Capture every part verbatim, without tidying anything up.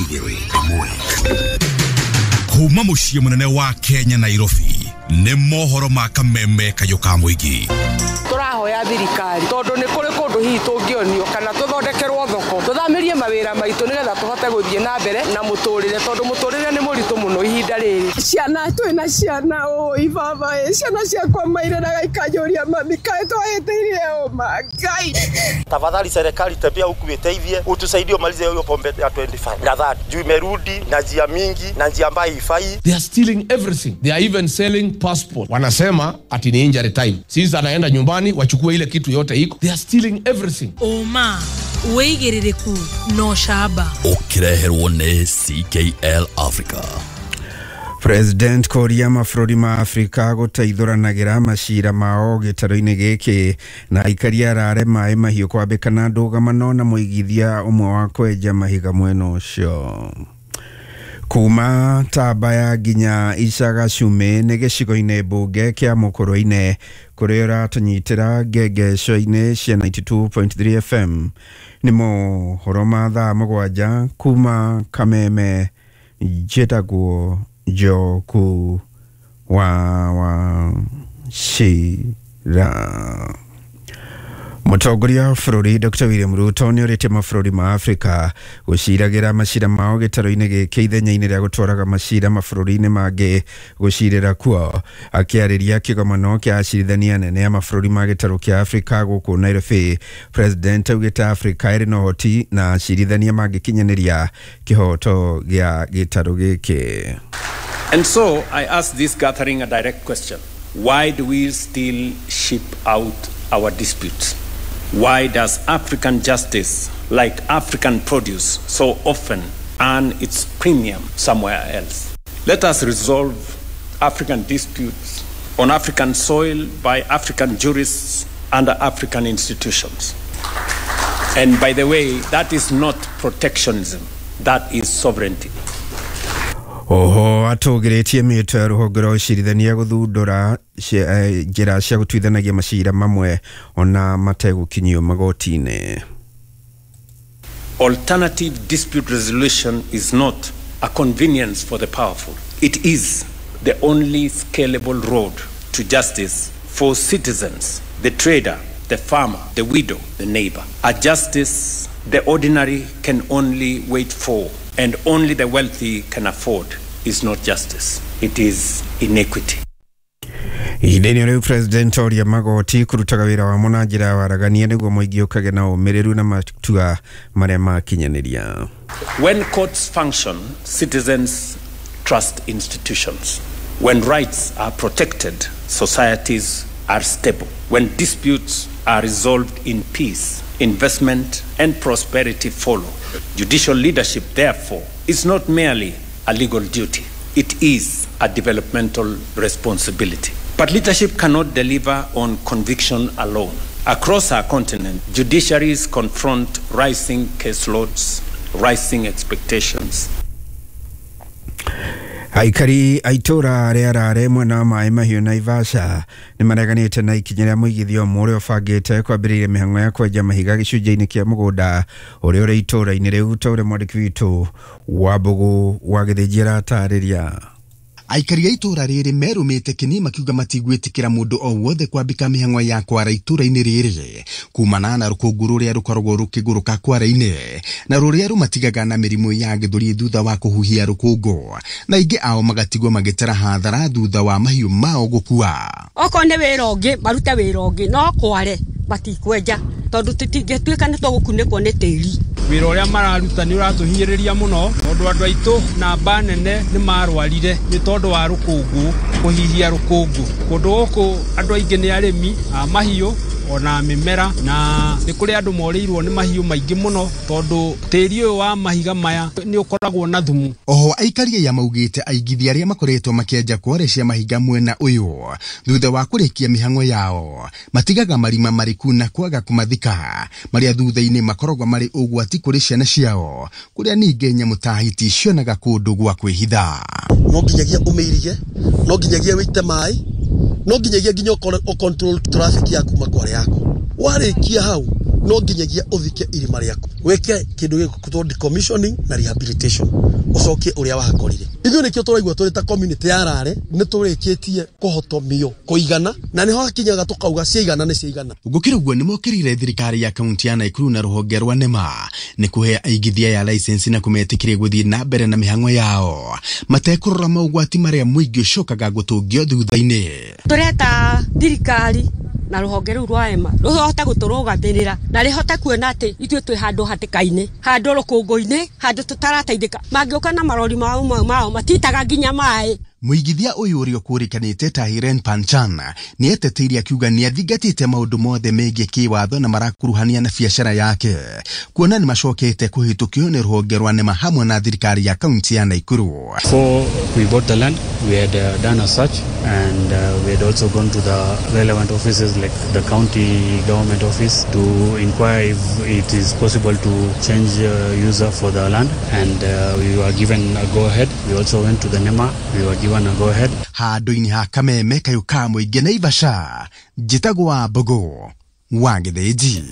Igĩrĩ ĩmwe. Kuma mũciĩ mũnene wa Kenya Nairobi nĩ mohoro ma kameme kayũ ka mũingĩ. Tũrahoya thirikari tondũ nĩ kũrĩ kũndũ hihi tũngĩonio kana tũthondekerwo thoko tũthamĩrie mawĩra maitũ nĩgetha tũhote gũthiĩ na mbere na mũtũrĩre tondũ mũtũrĩre nĩ mũritũ mũno ihinda rĩrĩ. Ciana twĩna ciana ũĩ baba ĩ ciana ciakwa mairĩraga ikanjũria mami kaĩ twahĩtĩirie ũma Ngai. Tafadhali serikali tembea huku iteithie utusaidie umalize hiyo pombe ya twenty-five na thirty juu imerudi na njia mingi na njia ambayo haifai. They are stealing everything. They are even selling passport. Wanasema ati ni injury time. Sisi anaenda nyumbani wachukue ile kitu yote iko. They are stealing everything. Oma wĩigĩrĩrĩku no shaba. Ũkĩreherwo nĩ C K L Africa. President kũria mabũrũri ma Afrika gũteithũranagĩra macira mao gĩtarũ-inĩ gĩkĩ na aikari arare maĩ mahiũ kwambĩkana ndũgamano na mũigithia ũmwe wa kwenja mahiga mwena ũcio. Kuma Tabaya nginya Icaga Cume nĩ gĩcigo-inĩ mbunge kĩa Mũkũrwe-inĩ kũrĩa ũratũnyitĩra ngengeco-inĩ cia ninety-two point three F M. Nĩ mohoro ma thaa mũgwanja kuma Kameme, njĩtagwo Njoku wa wa Shira. Mũtongoria wa bũrũri Doctor William Ruto nĩorĩtie mabũrũri ma Afrika gũciragĩra macira mao gĩtarũ-inĩ gĩkĩ ithenya-inĩ rĩa gũtwaraga macira mabũrũri-inĩ mangĩ gũcirĩra kuo. Akĩarĩria kĩgomano kĩa acirithania anene a mabũrũri ma gĩtarũ kĩa Afrika gũkũ Nairobi, President augĩte Afrika ĩrĩ na ũhoti na acirithania mangĩkinyanĩria kĩhoto gĩa gĩtarũ gĩkĩ. And so I ask this gathering a direct question. Why do we still ship out our disputes? Why does African justice, like African produce, so often earn its premium somewhere else? Let us resolve African disputes on African soil by African jurists under African institutions. And by the way, that is not protectionism, that is sovereignty. Oho atũgĩrĩtie mĩto ya rũhonge rwa ũcirithania gũthundũra njĩra cia gũtuithanagia macira mamwe ona mategũkinyio magoti-inĩ. Alternative dispute resolution is not a convenience for the powerful. It is the only scalable road to justice for citizens, the trader, the farmer, the widow, the neighbor. A justice the ordinary can only wait for and only the wealthy can afford is not justice. It is inequity. Ihinda-inĩ rĩu President oria magoti kũrutaga wĩra wamo na njĩra ya waragania nĩguo mũingĩ ũkagĩa na ũmĩrĩru na matua marĩa makinyanĩria. When courts function, citizens trust institutions. When rights are protected, societies are stable. When disputes are resolved in peace, investment and prosperity follow. Judicial leadership, therefore, is not merely a legal duty. It is a developmental responsibility. But leadership cannot deliver on conviction alone. Across our continent, judiciaries confront rising caseloads, rising expectations. Aikari a itũra rĩa Rare mwena wa Maĩ Mahiũ Naivasha nĩ mareganĩte na ikinya rĩa mũigithia ũmwe ũrĩa ũbangĩte kwambĩrĩria mĩhang'o ya kwenja mahiga gĩcunjĩ-inĩ kĩa mũgũnda ũrĩa ũrĩ itũra-inĩ rĩu ta ũrĩa mwandĩki witũ wa Mbũgũ wa Gĩthĩnji aratarĩria. Aikari a itũra rĩrĩ merũmĩte kĩni makiuga matigwĩtĩkĩra mũndũ o wothe kwambĩka mĩhang'o ya kwara itũra-inĩ rĩrĩ kumana na rũkũngũ rũrĩa rũkoragwo rũkĩgũrũka kwara-inĩ na rũrĩa rũmatigaga na mĩrimũ ya gĩthũri thutha wa kũhuhia rũkũngũ na aingĩ ao magatigwo magĩtara hathara thutha wa mahiũ mao gũkua. Okorwo nĩ wĩra ũngĩ marute wĩra ũngĩ no kware matikwenja tondũ tũtingĩtuĩka nĩ tũgũkunĩkwo nĩ tĩri. Wĩra ũrĩa mararuta nĩ ũratũhinyĩrĩria mũno tondũ andũ aitũ namba nene nĩ marwarire nĩ tondũ wa rũkũngũ kũhihia rũkũngũ. Kũndũ gũkũ andũ aingĩ nĩ arĩmi a mahiũ ona mĩmera na nĩ kũrĩ andũ morĩirwo nĩ mahiũ maingĩ mũno tondũ tĩri ũyũ wa mahiga maya nĩ ũkoragwo na thumu. Oho aikari aya maugĩte aigithia arĩa makoretwo makĩenja kware cia mahiga mwena ũyũ thutha wa kũrĩkia mĩhang'o yao matigaga marima mariku na kwaga kũmathika marĩa thutha-inĩ makoragwo marĩ ũgwati kũrĩ ciana ciao kũrĩa ningĩ nyamũ ta hiti cionaga kũndũ gwa kwĩhitha. No nginyagia ũmĩirige, no nginyagia wĩite maĩ, no nginyagia nginya ũ control traffic yaku makware yaku. Warĩkia hau No nginyagia ũthike irima rĩaku, wĩke kĩndũ gĩgũtwo decommissioning na rehabilitation, ũcokie ũrĩa wahakorire. Ithuĩ nĩkĩo tũraigua tũrĩ ta community ya Rare nĩ tũrĩkĩtie kũhotomio kũigana, na nĩho hakinyaga tũkauga ciaigana nĩ ciaigana. Gũkĩrĩ ũguo nĩmokĩrĩire thirikari ya kaunti ya Naikuru na rũhonge rwa NEMA nĩ kũhe aigithia ya license na kũmetĩkĩria gũthiĩ na mbere na mĩhang'o yao matekũrora maũgwati marĩa mũingĩ ũcokaga gũtũngio thutha-inĩ. Tũreta thirikari na rũhonge rũu rwa EMA rũhote gũtũrũgamĩrĩra na rĩhote kuona atĩ ithuĩ twĩ handũ hatĩka-inĩ, handũ rũkũngũ-inĩ, handũ tũtarateithĩka. Mangĩũka na marori mao mao matitaga nginya maĩ. Mũigithia ũyũ ũrĩa ũkũrĩkanĩte ta Hiren Panchan nĩ eteteire akiuga nĩ athingatĩte maũndũ mothe megiĩ kĩwatho na marakuruhania na biacara yake, kuona nĩ macokete kũhĩtũkio nĩ rũhonge rwa NEMA hamwe na thirikari ya kaunti ya Naikuru. Before we bought the land, we had uh, done a search and uh, we had also gone to the relevant offices like the county government office to inquire if it is possible to change uh, user for the land, and uh, we were given a go-ahead. We also went to the NEMA, we were given a go-ahead. Handũ-inĩ ha Kameme kayũ ka mũingĩ Naivasha, njĩtagwo wa Mbogo wa Gĩthĩnji.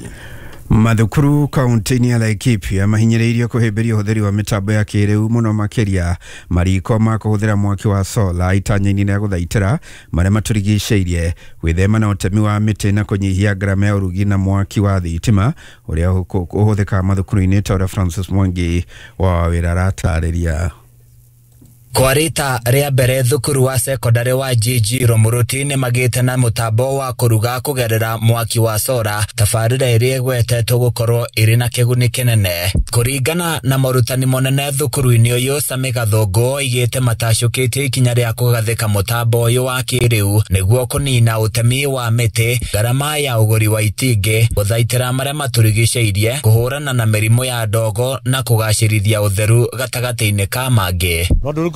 Mathukuru kaunti-inĩ ya Laikipia mahinyĩrĩirio kũhĩmbĩria ũhũthĩri wa mĩtambo ya kĩrĩu mũno makĩria mariko ma kũhũthĩra mwaki wa sola itanya-inĩ rĩa gũthaitĩra marĩa matũrigicĩirie, gwĩthema na ũtemi wa mĩtĩ na kũnyihia ngarama ya ũrugi na mwaki wa thitima ũrĩa ũhũthĩkaga mathukuru-inĩ ta ũrĩa Francis Mwangi wa wĩra aratarĩria. Kwa rita rĩa mbere thukuru wa sekondari wa G G Romuruti nĩ magĩte na mũtambo wa kũruga kũgerera mwaki wa sora, tabarĩra ĩrĩa ĩgwetetwo gũkorwo ĩrĩ na kĩguni kĩnene. Kũringana na morutani monene thukuru-inĩ ũyũ, Sami Gathũngũ oigĩte matacũkĩtie ikinya rĩa kũgathĩka mũtambo ũyũ wa kĩrĩu nĩguo kũnina ũtemi wa mĩtĩ, ngarama ya ũgũri wa itingĩ, gũthaitĩra marĩa matũrigicĩirie, kũhũrana na mĩrimũ ya ndogo na kũgacĩrithia ũtheru gatagatĩ-inĩ ka mangĩ.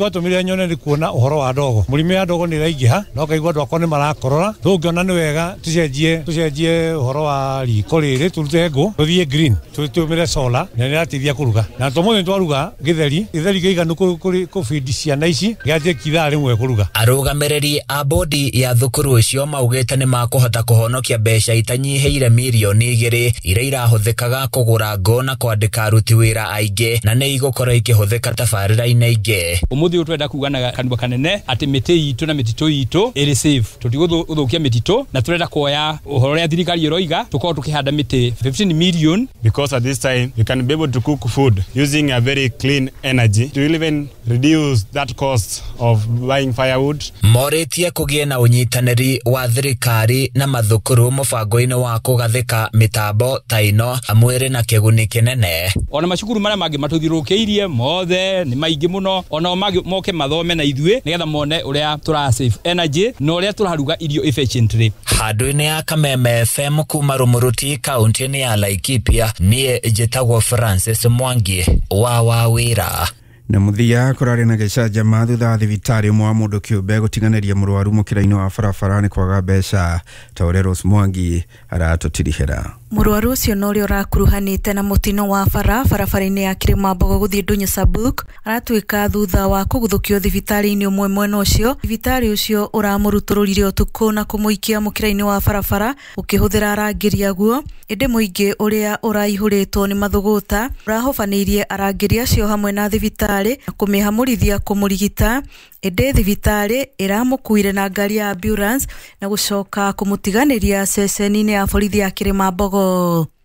Tumire nyone ni kuona uhoro wa ndogo murimi ya ndogo ni raingiha no kaigua andu akwa ni marakorora tungiona ni wega tucenjie tucenjie uhoro wa riko riri turute ngu tuthie green tutumire solar na ni rateithia kuruga na tumuthi twaruga githeri githeri giiganu kubindi ciana ici giatie kithaa rimwe kuruga. Arũgamĩrĩri a bodi ya thukuru ũcio maugĩte nĩ makũhota kũhonokia mbeca itanyihĩire mirioni igĩrĩ iria irahũthĩkaga kũgũra ngũ na kwandĩka aruti wĩra aingĩ na nĩ igũkorwo ikĩhũthĩka tabarĩra-inĩ ingĩ. Umuthi twenda kuga na kanua kanene ati mĩtĩ itũ na mĩtitũ itũ ĩrĩ safe, tũtigũthũkia mĩtitũ na turenda kuoya ũhoro ũrĩa thirikari ĩroiga tũkorwo tũkĩhanda mĩtĩ fifteen million, because at this time you can be able to cook food using a very clean energy to even reduce that cost of buying firewood. Morĩtie kũgĩe na ũnyitanĩri wa thirikari na mathukuru mũbango-inĩ wa kũgathĩka mĩtambo ta ĩno amwĩrĩ na kĩguni kĩnene. Ona macukuru marĩa mangĩ matũthiũrũrũkĩirie mothe nĩ maingĩ mũno, ona moke mathome na ithuĩ nigetha mone uria tura save energy na uria turaruga irio efficiently. Handũ-inĩ ya Kameme F M kuma Rumuruti kaunti-inĩ ya Laikipia, niĩ njĩtagwo Francis Mwangi wa Wawĩra. Na mũthia kũrarĩ na gĩcanjama thutha wa thibitarĩ ũmwe wa mũndũ kĩũmbe gũtiganĩria mũrwaru mũkĩra-inĩ wa barabara nĩ kwaga mbeca, ta ũrĩa Rose Mwangi aratũtirihĩra. Mũrwaru ũcio na ũrĩa ũrakuruhanĩte na mũtino wa bara barabara-inĩ ya Kĩrĩmambogo gũthiĩ Ndũnyũ Sabuk aratuĩka thutha wa kũguthũkio thibitarĩ-inĩ ũmwe mwena ũcio. Thibitarĩ ũcio ũramũrutũrũrire ũtukũ na kũmũikia mũkĩra-inĩ wa barabara ũkĩhũthĩra arangĩri aguo, ĩndĩ mũingĩ ũrĩa ũraihũrĩtwo nĩ mathũgũta ũrahobanĩirie arangĩri acio hamwe na thibitarĩ na kũmĩhamũrithia kũmũrigita, ĩndĩ thibitarĩ ĩramũkuire na ngari ya ambulance na gũcoka kũmũtiganĩria ceceni-inĩ ya borithi ya Kĩrĩmambogo.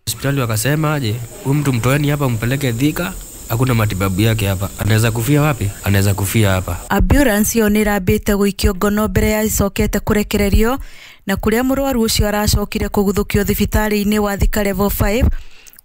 Hospitali wakasema aje, huyu mtu mtoeni hapa mpeleke Thika, hakuna matibabu yake hapa. Anaweza kufia wapi? Anaweza kufia hapa. Ambulance yo nĩrambĩte gũikio ngono mbere ya icokete kũrekererio na kũrĩa mũrwaru ũcio aracokire kũguthũkio thibitarĩ-inĩ wa Thika level five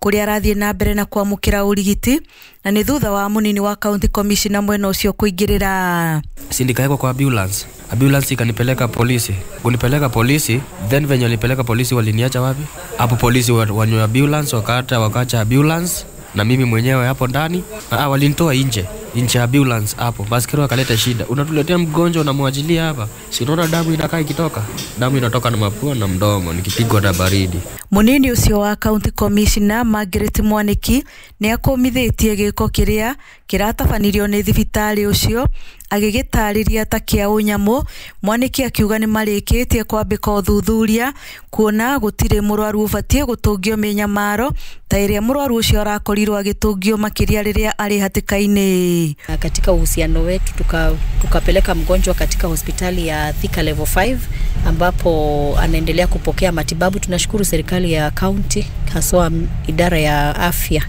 kũrĩa arathiĩ na mbere na kwamũkĩra ũrigiti, na nĩ thutha wa mũnini wa county commissioner mwena ũcio kũingĩrĩra. Si nikaekwa kwa ambulance. Ambulance ikanipeleka polisi. Kunipeleka polisi, then venye walipeleka polisi waliniacha wapi? Hapo polisi wanywa ambulance, wakata wakaacha ambulance na mimi mwenyewe hapo ndani. Ah, walinitoa nje. Nje ya ambulance hapo. Baskero akaleta shida. Unatuletea mgonjwa unamwachilia hapa. Si unaona damu inakaa ikitoka? Damu inatoka na mapua na mdomo nikipigwa na baridi. Munini ucio wa county commissioner Margaret Mwaniki ni akomithĩtie gĩko kĩrĩa Kĩratabanirio nĩ thibitarĩ ũcio agĩgĩtarĩria ta kĩa ũnyamũ. Mwaniki akiuga nĩ marĩkĩtie kwambĩka ũthuthuria kuona gũtirĩ mũrwaru ũbatiĩ gũtũngio mĩnyamaro ta ĩrĩa mũrwaru ũcio arakorirwo agĩtũngio makĩria rĩrĩa arĩ hatĩka-inĩ. Katika uhusiano wetu tuka, tukapeleka mgonjwa katika hospitali ya Thika level five ambapo anaendelea kupokea matibabu. Tunashukuru serikali ya county haswa idara ya afya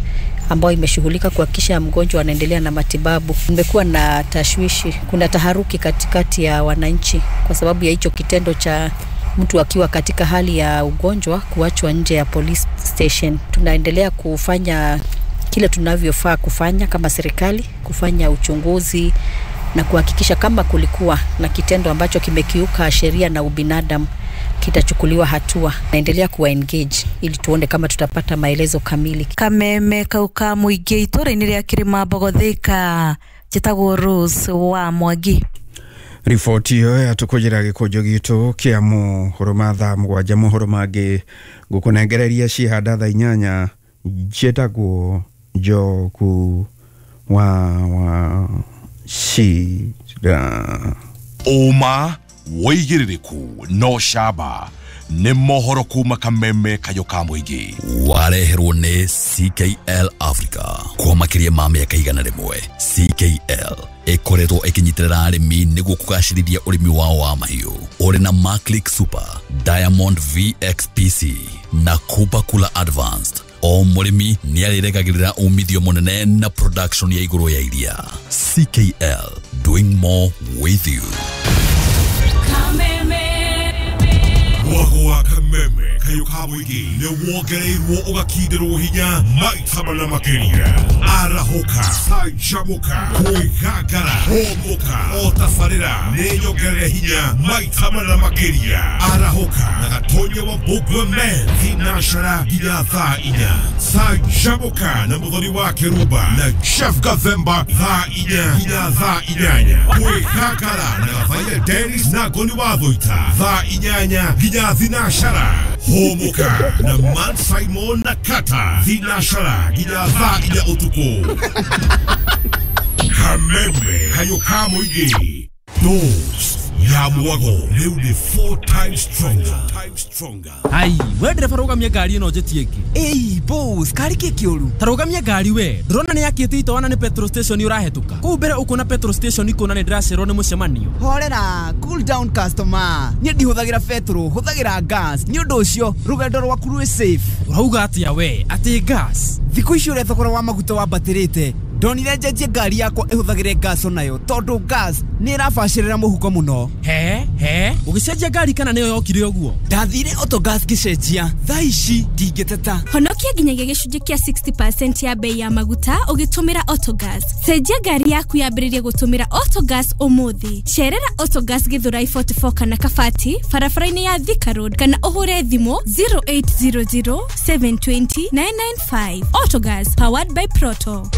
ambayo imeshughulika kuhakikisha mgonjwa anaendelea na matibabu. Kumekuwa na tashwishi, kuna taharuki katikati ya wananchi kwa sababu ya hicho kitendo cha mtu akiwa katika hali ya ugonjwa kuachwa nje ya police station. Tunaendelea kufanya kile tunavyofaa kufanya kama serikali, kufanya uchunguzi na kuhakikisha kama kulikuwa na kitendo ambacho kimekiuka sheria na ubinadamu kitachukuliwa hatua. Naendelea kuwa engage ili tuone kama tutapata maelezo kamili. Kameme kauka muingi itũra-inĩ rĩa Kĩrĩmambogo Thika, njĩtagwo Rose wa Mwangi. Riboti ĩyo yatũkũnjĩra gĩkũnjo gitũ kĩa mohoro ma thaa mũgwanja. Mohoro mangĩ ngũkũnengereria ciĩhanda thaa inyanya. Njĩtagwo Njogu wa wa Cira. Ũma wĩigĩrĩrĩku no camba nĩ mohoro kuma kameme kayo ka mũingĩ. Wareherwo nĩ C K L Africa kwa makĩria ma mĩaka igana rĩmwe. C K L ĩkoretwo ĩkĩnyitĩrĩra arĩmi nĩguo kũgacĩrithia ũrĩmi wao wa mahiũ. Ũrĩ na Maclick Super, Diamond V X P C na Kuba Kula Advanced. O mũrĩmi nĩ arĩregagĩrĩra umithio mũnene na production ya igũrũ ya iria. C K L, doing more with you. Mwago wa kameme kayo ka mũingĩ nĩ wongereirwo ũgakindĩrwo hinya maita mana makĩria. Arahũka, canjamũka, kwĩgangara, hũmũka, o tabarĩra nĩ nyongerere hinya maita mana makĩria. Arahũka na Gatonya wa Mbũgua Men thinacara nginya thaa inya. Canjamũka na Mũthoni wa Kĩrumba na Chef Gathemba thaa inya nginya thaa inyanya. Kwĩgangara na Gathaiya Dennis na Ngoni wa Thũita thaa inyanya nginya thinacara. Hũmũka na Man Simon na Kata thinacara nginya thaa inya ũtukũ. Kameme kayo ka mũingĩ. Dose ya mwago rĩu nĩ four times stronger. Ai, we ndereba rũgamia ngari ĩno njĩtie ĩngĩ. Ĩi boss, kari kĩ kĩũru? Ta rũgamia ngari we. Ndũrona nĩ yakĩte itoana nĩ petrol station ũrahĩtũka. Kũu mbere ũkuona petrol station ikuona nĩ ndĩracererwo nĩ mũcemanio. Horera, cool down customer. Niĩ ndihũthagĩra petrol, hũthagĩra gas. Nĩ ũndũ ũcio rũgendo rwaku rwĩ safe. Ũrauga atĩa we? Atĩ gas? Thikũ ici ũrĩa thogora wa maguta wambatĩrĩte, ndonire njenjie ngari yakwa ĩhũthagĩre gas onayo tondũ gas nĩ ĩrabacĩrĩra mũhuko mũno. He he, ũgĩcenjia ngari kana nĩyo yokire ũguo? Ndathire Autogas ngĩcenjia, thaa ici ndingĩteta. Honokia nginyagia gĩcunjĩ kĩa sixty percent ya bei ya maguta ũgĩtũmĩra Autogas. Cenjia ngari yaku yambĩrĩrie gũtũmĩra Autogas ũmũthĩ. Cerera Autogas Githurai forty-four kana Kabati barabara-inĩ ya Thika Road kana ũhũre thimũ zero eight zero zero, seven two zero, nine nine five. Autogas, powered by Proto.